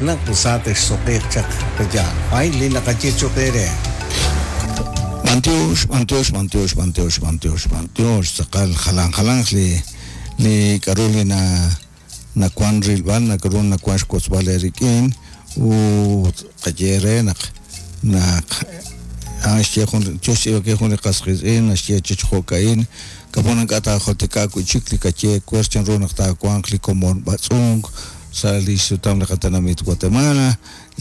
Naq sa texsuq'iiq chaq pe'yaal? A'in li naqaye cho'q eere. B'antiox, b'antiox, b'antiox, b'antiox, b'antiox, b'antiox, tz'aqal jalan jalanq li li k'a'ru li na nawan rilb'al, nak'aru nawan xwotzb'al eerik'in ut qaye eere naq naq a'an xye jun yo xtz'iib'ankil jun li qas qiitz'in naxye chi jo'ka'in k'a'pon ink'a' taajultika wi'chik li kaye ewer chanru naq taawanq li komon b'atz'unk sa' li xsutam li qatenamit Guatemala,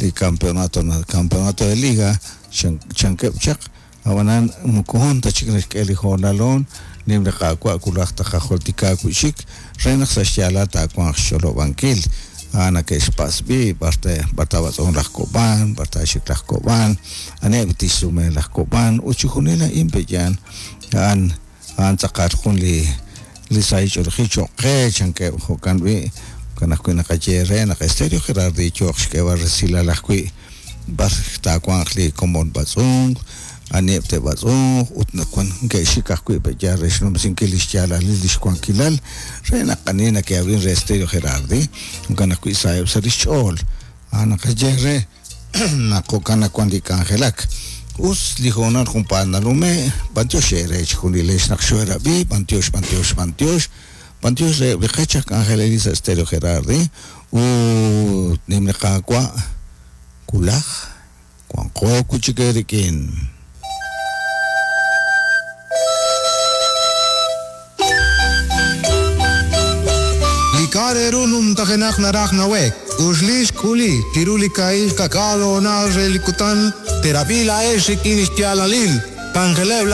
li campeonato campeonato de liga chankeb' chaq, ab'anan moko hoon ta chik naxk'e li hoonal hoon, nim li Qaawa' wulaj taqajultika wi'chik re naq sa' xyaalal taawanq xch'olob'ankil. A'an nake'xpatz' b'i' b'ar te b'ar taab'atz'unq laj Kob'an, b'ar taaxik laj Kob'an, aniheb' tixsume laj Kob'an, ut chixjunil a'in pe'yaal a'an A'an tz'aqal jun li li sahil ch'oolejil cho'q qe, chankeb'. Jo'kan b'i', jo'kan ajwi' naqaye eere naq Estéreo Gerardi yooq xk'eeb'al resilal ajwi' b'ar taawanq li komon b'atz'unk, aniheb' te'b'atz'unq ut wan neke'xik ajwi' pe'yaal re xnumsinkil li xyaalalil li xwankilal re naq ani neke'ab'in re Estéreo Gerardi, jo'kan ajwi' saheb' sa' li xch'ool. A'an naqaye eere. Naq jo'kan nawan li k'anjelak. Us li hoonal junpaat nanume', b'antiox eere chejunilex naq xoo'erab'i, b'antiox, b'antiox, b'antiox, b'antiox reheb' li qech aj k'anjelelil sa' Stereo Gerardi, ut nim li Qaawa' wulaj wanqo wi' chik eerik'in. Li k'a' re ru numtajenaq naraj nawe'k, k'uxli xk'uli chiru li kaahil ka'k'aal hoonal re li kutan, teerab'i laa'ex rik'in li xyaalalil, k'anjeleb' laj.